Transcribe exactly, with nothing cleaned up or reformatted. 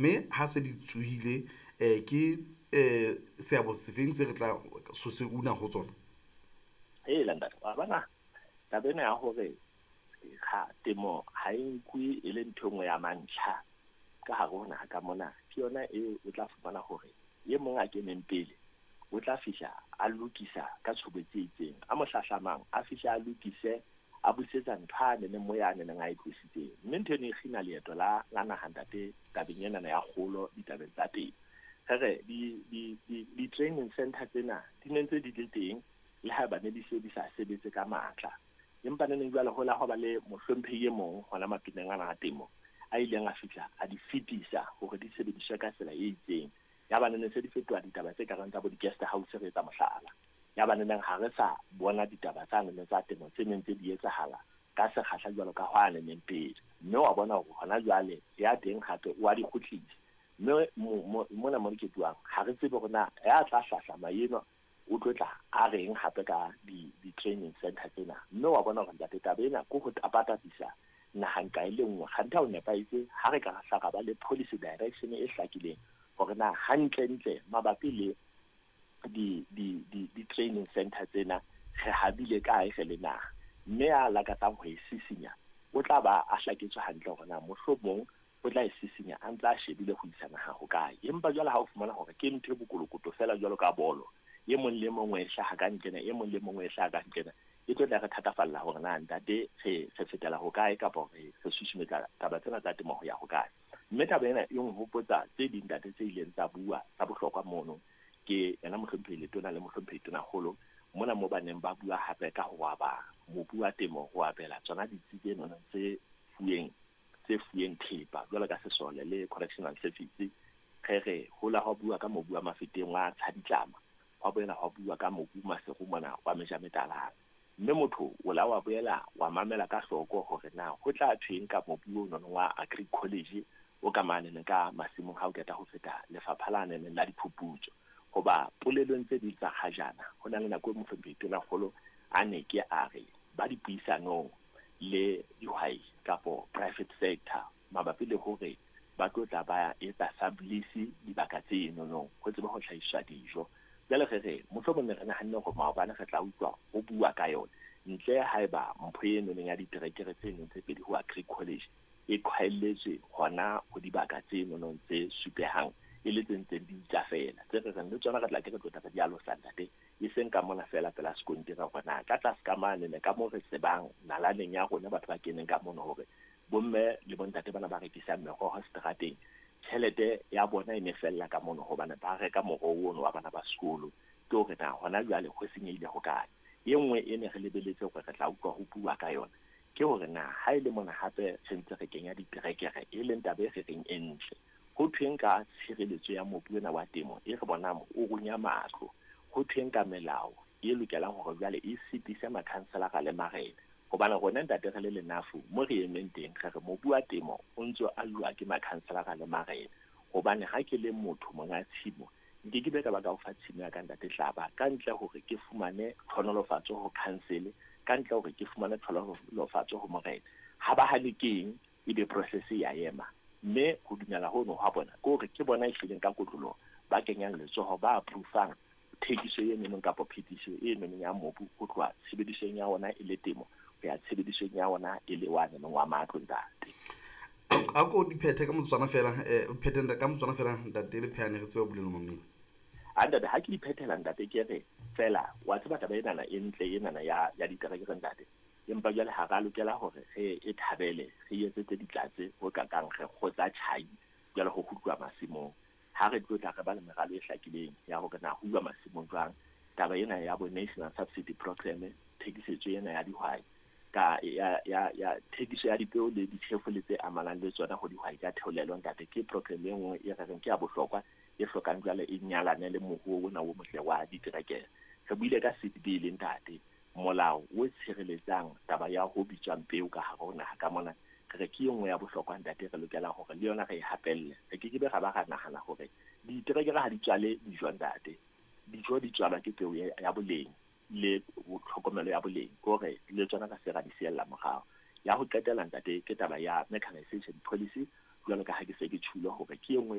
Mme ha se di tsohile eh, ke eh, seabo sefeng se re tla so se una ho tsona? Hela ntate, wa bona taba ena ya hore ga temo ha e nkuwe e le ntho e nngwe ya mantlha ka hare ho naha ka mona, ke yona e o tla fumana hore e mong a keneng pele o tla fihla a lokisa ka tshobotsi e itseng, a mo hlahlamang a fihle a lokise a busetsa ntho a neneng mo ya neneng a e tlositseng. Mme ntho eno e kgina leeto la la naha ntate tabeng enana ya kgolo ditabeng tsa temo. Re re di di di di-training center tsena di ne ntse di le teng le haeba ne di se di sa sebetse ka matla. Empa neneng jwale ho la ho ba le mohlomphehi e mong hona mapineng ana a temo a ileng a fihla a di fetisa hore di sebediswe ka tsela e itseng. Ya ba neneng se di fetoha ditaba tse kareng tsa bo di-guest house re etsa mohlala. Ya ba neneng ha re sa bona ditaba tsa nene tsa temo tse neng tse di etsahala ka sekgahla jwalo ka hwa neneng pele. Mme wa bona hore hona jwale ya teng hape o a di kgutlisa. Mme mona mo ke buang ha re tsebe hore na ya tla hlahlama eno o tlo tla a reng hape ka di-training center tsena. Mme wa bona hore ntate taba ena ke ho tapatapisa naha nqa e le nngwe. Kganthe ha o nepahetse ha re ka hla ra ba le policy direction e hlakileng hore na hantlentle mabapi le di di di di-training center tsena re habile kae re le naha. Mme a lakatsang ho e sisinya o tla ba a hlaketswe hantle hore na mohlomong o tla e sisinya a ntse a shebile ho isa naha hokae. Empa jwale ha o fumana hore ke ntho e bokolokoto feela jwalo ka bolo, e mong le mong o e hlaha ka nqena, e mong le mong o e hlaha ka nqena, e tlo tla re thatafalla hore na ntate re re fetela hokae kapa re re susumetsa taba tsena tsa temo ho ya hokae. Mme taba ena e nhopotsa tse ding ntate tse ileng tsa bua tsa bohlokwa mono ke yena mohlomphehi Letona le mohlomphehi Tonakgolo mona mo ba neng ba bua hape ka ho aba mobu wa temo ho abela tsona ditsi tseno tse fuweng tse fuweng thepa jwalo ka sesole le correctional service. Re re ho la hwa bua ka mobu wa Mafeteng wa Tshaditlama, hwa boela hwa bua ka mobu Maseru mona wa Mejametalana. Mme motho o la wa boela wa mamela ka hloko hore na ho tla thweng ka mobu ono wa Agri College o ka manene ka masimong ha o qeta ho feta lefapha la nene la diphuputso. Hoba polelong tse ding tsa kgajana ho na le nako e mohlomphehi Tonakgolo a ne ke a re ba dipuisanong le dihwai kapo private sector mabapi le hore ba tlo tla ba etsa sublease dibaka tseno ho tsebe ho hlahiswa dijo. Jwale re re mohlomong ne re nahanne hore maobane re tla utlwa ho bua ka yona ntle haeba mpho eno ya diterekere tseno tse pedi ho Agri College e qhaelletswe hona ho dibaka tseno tse supehang e le tse ntseng di itja feela. Tse re reng le tsona re tla ke re tlo tla re di alosa ntate, e seng ka mona feela pela sekontiri hore na ka tlase ka mane ne ka moo re tsebang nalaneng ya rona batho ba keneng ka mono hore bomme le bontate bana ba rekisang meroho seterateng tjhelete ya bona e ne fella ka mono hobane ba reka moroho ono wa bana ba sekolo. Ke hore na hona jwale ho senyehile hokae. E nngwe e ne re lebeletse hore re tla utlwa ho bua ka yona ke hore na ha e le mona hape re ntse re kenya diterekere e leng taba e re reng e ntle, ho thweng ka tshireletso ya mobu ona wa temo e re bonang o runya matlo, ho thweng ka melao e lokelang hore jwale e sitise makhanselara le marena. Hobane rona ntate re le lenafu mo re emeng teng re re mobu wa temo o ntso aluwa ke makhanselara le marena. Hobane ha ke le motho monga tshimo nke ke be ka ba ka o fa tshimo ya ka ntate Hlaba ka ntle hore ke fumane tlhonolofatso ho council, ka ntle hore ke fumane tlhonolofatso ho morena. Ha ba hane keng ebe process ya ema. Mme ho dumela hono ha bona ke hore ke bona e hlileng ka kotloloho ba kenyang letsoho ba approve-ang thekiso e nonong kapa phetiso e nonong ya mobu ho tloha tshebedisong ya ona e le temo ho ya tshebedisong ya ona e le wa nonong wa matlo ntate. A ko di phethe ka motsotswana fela, eh phethe ka motsotswana fela ntate le phehane re tsebe ho bulela mamedi. A ntate ha ke di phethela ntate ke re fela wa tseba taba enana e ntle enana ya ya diterekere ntate, empa jwale ha ra lokela hore re e thabele re etsetse ditlatse ho kakang re kgotsa tjhai jwale ho kgutluwa masimong. Ha re tlo tla re ba le meralo e hlakileng ya hore na ho uwa masimong jwang. Taba ena ya bo National Subsidy Program, thekisetso ena ya dihwai ka ya ya ya thekiso ya dipeo le ditjhefo le tse amanang le tsona ho dihwai ka theolelo ntate, ke program e nngwe e re reng ke ya bohlokwa e hlokang jwale e nyalane le moruo ona o motle wa diterekere. Re buile ka seed bill ntate, molao o tshireletsang taba ya ho bitswang peo ka hare ho naha ka mona. Re re ke e nngwe ya bohlokwa ntate, re lokela hore le yona re e hapelle. Re ke ke be ra ba ra nahana hore diterekere ha di tswale dijo ntate, dijo di tswalwa ke peo ya boleng le tlhokomelo ya boleng, ke hore le tsona ka se ra di siella morao. Ya ho qetela ntate ke taba ya mechanization policy Jwalo ka ha ke se ke tjhulo hore ke e nngwe.